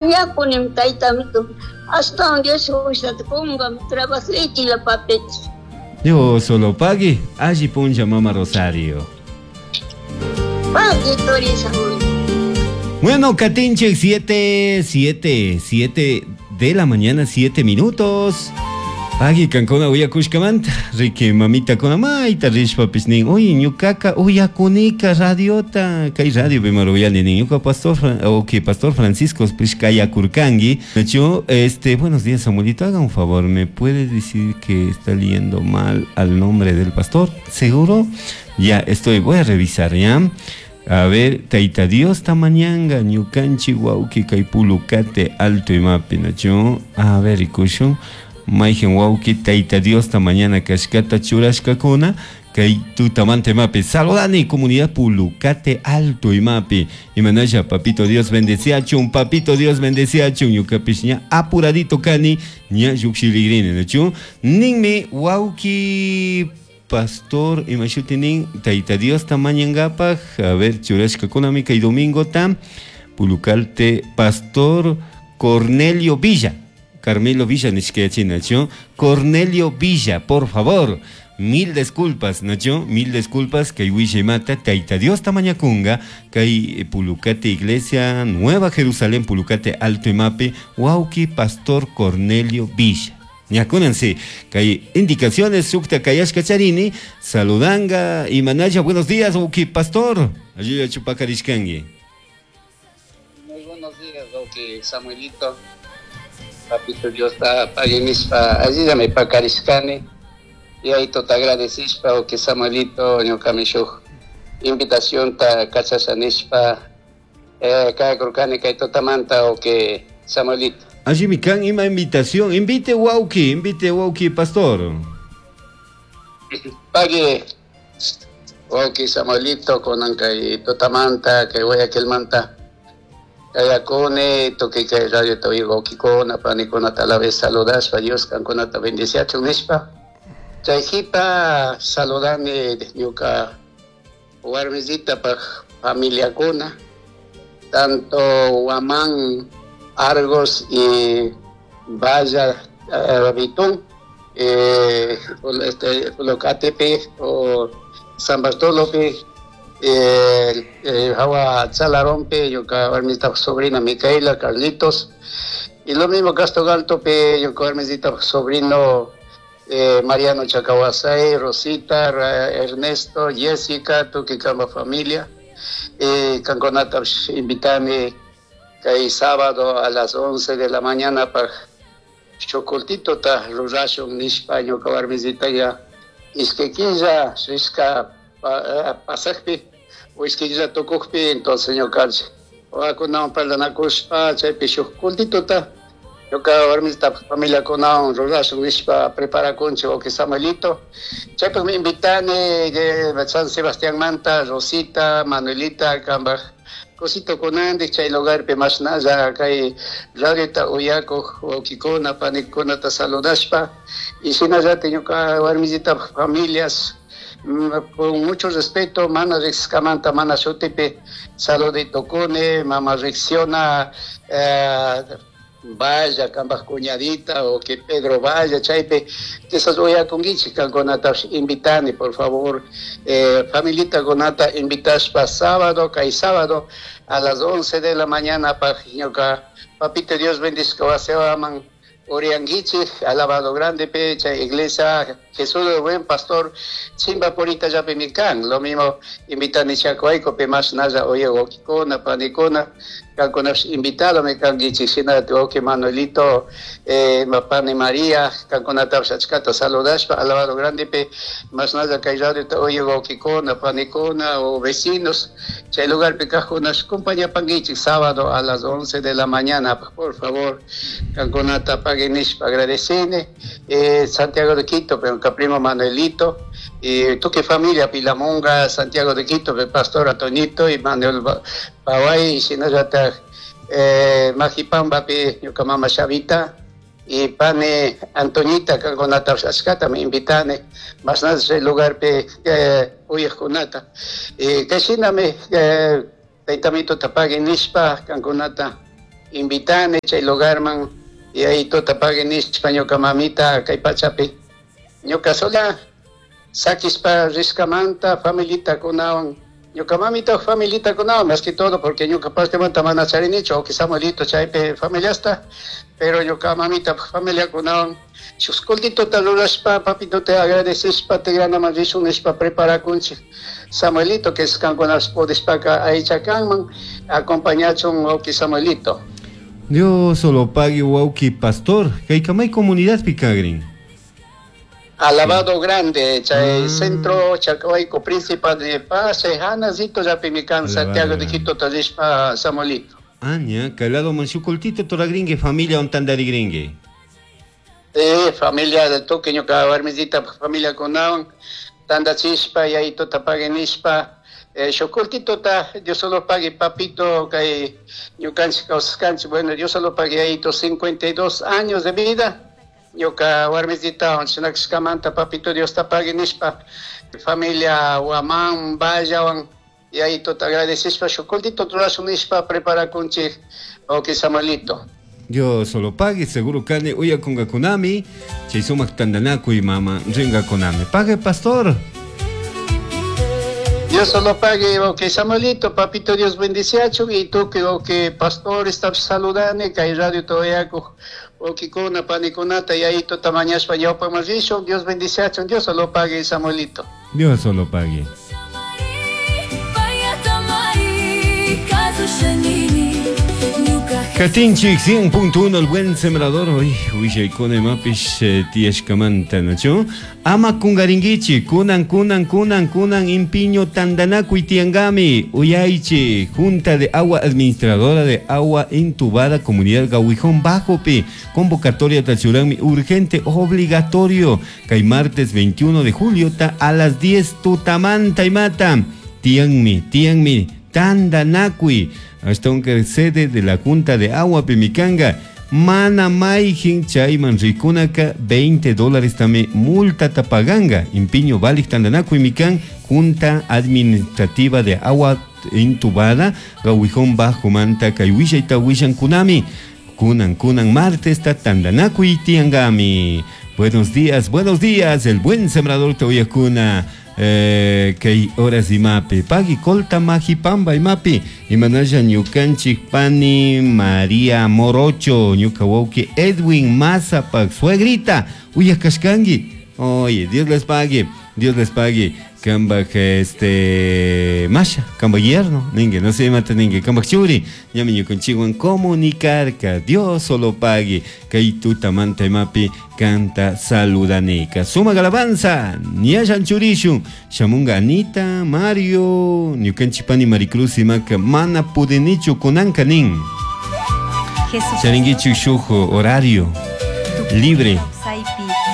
Mañakunim taytamito. Ashtawan Dios fuerzata kunga trabajaychilla papito. Dios solo pagui, alli punlla mama Rosario. Pagui turi Saúl. Bueno, Katinche, 7, 7, 7 de la mañana, 7 minutos. Pagui kankuna uyakushkamanta, riki mamita kuna mayta rishpapis nin, uy ñukaka uyakunika radiota, kay radio pimaruyani nin, ñuka pastor, ok, pastor Francisco pish kayakurkangi. Yo, buenos días, Samuelito, haga un favor, ¿me puede decir que está leyendo mal al nombre del pastor? ¿Seguro? Ya estoy, voy a revisar, ¿ya? A ver, Taita Dios tamañanga, ñukanchi wauki kay pulucate alto imapi, nacho. A ver, ikushun. Maigen wauki, Taita Dios tamañana kashkata churashkakuna, kay tutamante mapi. Saludani, comunidad Pulucate Alto imapi. Imanaya, papito Dios bendeciachun, papito Dios bendeciachun, ñukapish ña apuradito kani, ña llukshiligrini, nacho. Ninmi wauki pastor imashutinin Taita Dios tamañangapaj, a ver, churashkakunami kay domingo tam, Pulucalte pastor Cornelio Villa, Carmelo Villa nishkayachina, ¿cho? Cornelio Villa, por favor, mil disculpas, ¿no, cho? Mil disculpas, kay mata, Taita Dios tamañakunga, kay Pulucate Iglesia, Nueva Jerusalén, Pulucate Alto Imape, Wauki, Pastor Cornelio Villa. Ñakunansi, kay indicaciones, sukta kayashka charini, saludanga, imanaya, buenos días, Wauki, Pastor. Ayuda chupakarishkangi. Muy buenos días, Wauki Samuelito. Papito Dios ta paguinispa, allí me pakarishkani. Y ahí te agradecishpa, Wauki Samuelito, ñuka shuj invitación ta kachasanispa, kayakurkani kay tutamanta, Wauki Samuelito. Allí mi can ima invitación, invite Wauki, invite Wauki pastor. Pague Wauki Samuelito con kay tutamanta, kay Guayaquilmanta. Kayakune, toque kay radio to Wauki kona, pani kona talave saludas, pa Dios kan kona ta bendiciachun nishpa. Chayjipa saludani ñuka warmisita pa familia kona, tanto Guamán, Argos y Valla, Bitún, Pulucatepe o San Bartolomé, Jawa Chalarompe, ñuka warmisita sobrina Micaela, Carlitos, y lo mismo Castro Galtope, ñuka warmisita sobrino Mariano Chacahuasay, Rosita, Ernesto, Jessica, Tuquicamba familia, Canconata, invitame kay sábado a las 11 de la mañana pa chocoltito ta rurashun nishpa ñuka warmisita ya iskekilla rishka pasajpi o iskekilla tukukpi, entonces ñuka wawakunawan parlanakushpa chaypi shuk cultito ta ñuka warmisita familia kunawan rurashun nishpa preparakunchik wawqi Samuelito. Chaypaqmi invitani de San Sebastián Manta, Rosita, Manuelita, kambaj cosito kunandik chay lugarpi mashnalla kay radiota uyakuq wawqikuna panikunata saludashpa y shinallata ñuka warmisita familias con mucho respeto mana riqsiskamanta mana shutipi saluditukuni mama riqsiona, vaya kambaj cuñadita o que Pedro vaya chaypi quizás uyakunkichik kankunatapish invitani por favor, familita kunata invitashpa sábado kay sábado a las 11 de la mañana pa ñuka papito Dios bendizca wasiwaman urianguichik alabado grande pecha iglesia Jesús el buen pastor chimba purita yapi mikan lo mismo invitani chacuayco pe más naya oye wawqikuna panikuna kankuna invitado me kanguichik sina wawqi Manuelito, pani María kankunatapish achkata saludashpa alabado grande pe más naya kay radiota oye wawqikuna panikuna o vecinos chay lugar pe kajkunash compañapanguichik sábado a las 11 de la mañana por favor kankunata paguinishpa agradecine, Santiago de Quito pero primo Manuelito y tu que familia Pilamunga Santiago de Quito el pastor Antonito y Manuel Paway y si no ya te, Majipamba pi ñuka mama Xavita y pane Antonita kankunata ashkata me invitane más nada ese lugar pi, uyajkunata y que shinami, taytamito tapagui nishpa kankunata. Invitani chay lugarman yayituta pagui nishpa ñuka mamita kay pachapi ñuka sola sakishpa rishkamanta familitakunawan ñuka mamita familitakunawan más que todo porque ñuka partemanta mana charinichu aunque Samuelito chaypi familiasta pero ñuka mamita familiakunawan shuk cultitota rurashpa papitote agradecishpa tigranaman rishun nishpa preparakunchik Samuelito que es kankunapish pudishpaka aychakanman acompañachun wawki Samuelito. Dios solo pague wawki pastor kaykamay comunidadpi kagrin. Alabado Grande, chay centro Chacawayco principal de Paz, Hanacito, llapimi kan Santiago de Quito rishpa Samuelito. Ah, ña, kay lado man shuk cultito toragringue familia ontandarigringue. Familia de tukuy ñuka warmisita familia kunawan tandachishpa yayituta pagui nishpa shuk cultitota Dios solo pague papito kay ñukanchik kawsashkanchik bueno Dios solo pague yayito 52 años de vida ñuka warmisita chinakashkamanta papito Diosta pagui nishpa familia Guamán Vallawan yayituta agradecishpa shuk cultito rurashun nishpa preparakunchik wawki Samuelito. Dios solo pague, seguro kani uyakungakunami, chay sumak tandanakuy mama ringakunami. Pague, pastor. Dios solo pague, ok, Samuelito, papito Dios bendiciachun, y tú que, ok, pastor, estás saludando, que hay radio todavía, ok, kuna, panikunata, y ahí tú tamañaspa, ñawpaman rishun, Dios bendiciachun, Dios solo pague, Samuelito. Dios solo pague. Katinchik 100.1 el buen sembrador hoy willaykuna imapish tiyashkamanta nachu ama kungarinkichik kunan kunan kunan kunan impiño tandanakuy tiyankami uyaychik Junta de Agua Administradora de Agua Entubada Comunidad Gawijón Bajopi convocatoria tachuranmi urgente obligatorio kay martes 21 de julio ta a las 10 tutamanta imata tiyanmi tiyanmi tandanakuy hasta un sede de la Junta de Agua Pimicanga mana maijin chayman rikunaka veinte dólares tame multa tapaganga impiño valik tandanakuy mikan Junta Administrativa de Agua Entubada Gawijón Bajo Manta kay willayta willankunami kunan kunan martes ta tandanakuy tiangami. Buenos días, buenos días, el buen sembrador toyakuna. Kay horas imapi pagui colta majipamba imapi imanalla ñukanchik pani María Morocho ñuka wawki Edwin Mazapak suegrita uyakashkanki. Oye, Dios les pague, Dios les pague. Kambaj este masha, kambaj yerno, ningue, no se mata ningue, kambaj churi, ñami ñukanchikwan comunicarka, Dios solo pague, kay tutamanta imapi canta saludanika. Suma alabanza, ñallan churishun, shamunga Anita, Mario, ñukanchipani Maricruz imaka, mana pudinichu kunanka nin. Jesús. Charinguichu shujo, horario libre.